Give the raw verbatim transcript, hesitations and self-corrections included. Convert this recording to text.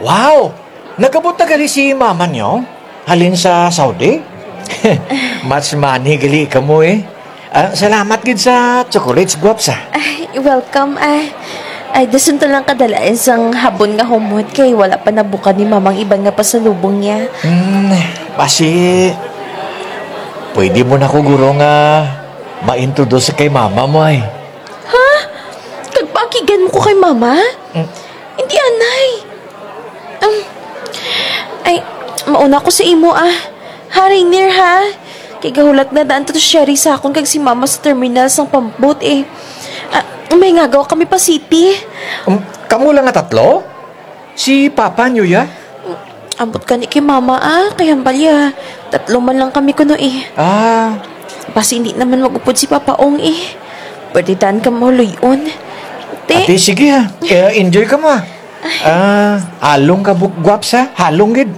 Wow! Nag-abot na gali si mama n'yo? Halin sa Saudi? Much money gali kamo, eh. Ah, salamat gid sa chocolates, Guaps, ah. Ay, welcome, ah. Ay, dason ta lang kadala-an sang habon nga humot kay wala pa nabuka ni mama ang iban nga pasalubong niya. Hmm, basi, pwede mo na ko guro nga ma-introduce kay mama mo, ay. Ha? Kag paakigan mo ko kay mama? Mm. Indi, anay. Um, ay, mauna ko sa imo, ah. Ha, Rainier, ha? Kay gahulat na daan to si Sherry sa akon kag si mama sa terminal sang pambot, eh. Ah, may ngagaw kami pa city. Um, kamo lang nga tatlo? Si papa n'yo ya? Ambot gani kay mama, ah, kay hambal ya tatlo man lang kami kuno, eh. Ah. Basi indi na man mag-upod si Papa Ong, eh. Pwede daan kamo luy-on. Te. Ate, sige, ha. Eh, enjoy kamo, ha. Ah, halong kamo, Guaps, ha. Halong gid.